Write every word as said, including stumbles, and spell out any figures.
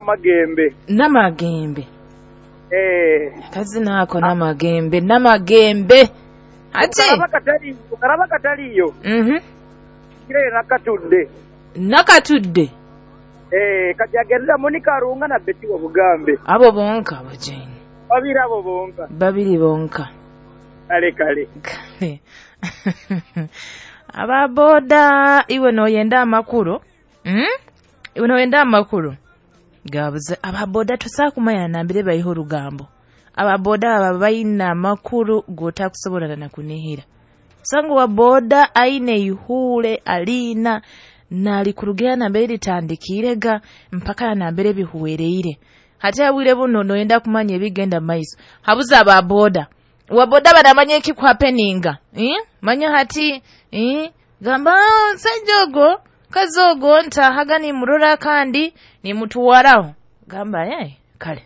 Namagembe. Namagembe. Eh. Akazina ako Namagembe, Namagembe. Ati Okaraba katali, okaraba kataliyo. Mhm. Kire nakatudde. Nakatudde. Eh, kajagerera Monica Arunga na Betty wa Bugambe. Abo bonka bujeni. Babiri abo bonka. Babiri bonka. Kale kale. Kale. Aba boda iwe noyenda amakuru. Mm? Iwe noyenda amakuru. Gabuze aba boda tusakumanya nambire bayiho rugambo. Aba boda baba bayina amakuru gotakusobola na kunihira. Sangu wa boda aine ihule alina nali kurugera nambere litandikirega mpaka nambere bihuwereire. Hati abwire buno noyenda kumanya ebigenda maiso. Habuza aba boda. Wa boda banamanya ekikuhappeninga. Eh? Manya hati eh? Gamba sejogo kazogo ntahaga nimurora kandi nimutuwaraho. Gamba eh kale.